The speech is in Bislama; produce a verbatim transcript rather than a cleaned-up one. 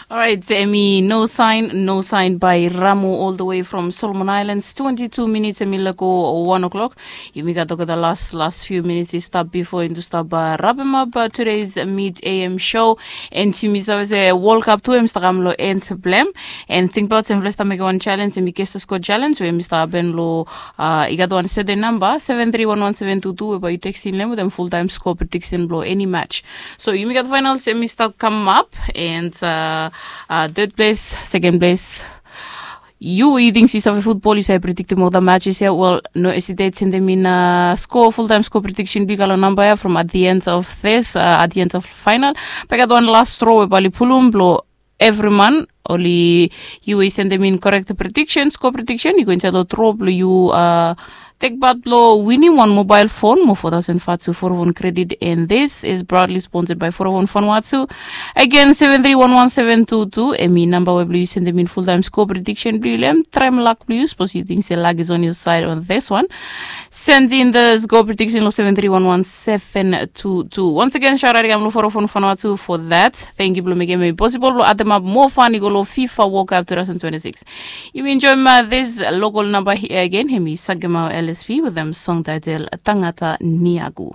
Orait, emi no sain no sain by Ramo all the way from Solomon Islands. Twenty-two minutes emi lako one o'clock. Yumi gat olgeta las las few minutes i stap bifo indu stap uh, rapem up uh, today's mid am show. And yumi save se World Cup tu em stap kam lo end blem. And think about em fle stap mekem one challenge emi Kester Scott challenge we emi stap happen lo uh, i gat one certain number seven three one one seven two two we ba yu tekstin lem with em full time score prediction blo any match. So yumi gat finals emi stap come up and uh, uh, third place, second place. Yu yu ting yu save futbol yu save prediktim ol da matches ya wel no hesitate sendem in uh, score full time score prediction big alo number ya from at the end of this uh, at the end of final. But I got one last straw we bali pulum blo every man oli yu i sendem in correct prediction score prediction yu go inside lo draw blo yu uh, Tek bat blo winim wan mobile phone mo four thousand fatu forovon credit and this is proudly sponsored by forovon Vanuatu. Again seven three one one seven two two emi namba we blo yu sendem in full time score prediction blo yu lem traem luck blo yu suppose yu think se luck is on your side on this one. Send in the score prediction lo seven three one one seven two two. Once again shout out again lo forovon Vanuatu for that. Thank you blo mekem emi possible blo addem up more fun i go lo FIFA World Cup two thousand twenty-six. Yumi enjoy ma this local number here again. Hemi Sagemau L S P with them song title Tangata Niagu.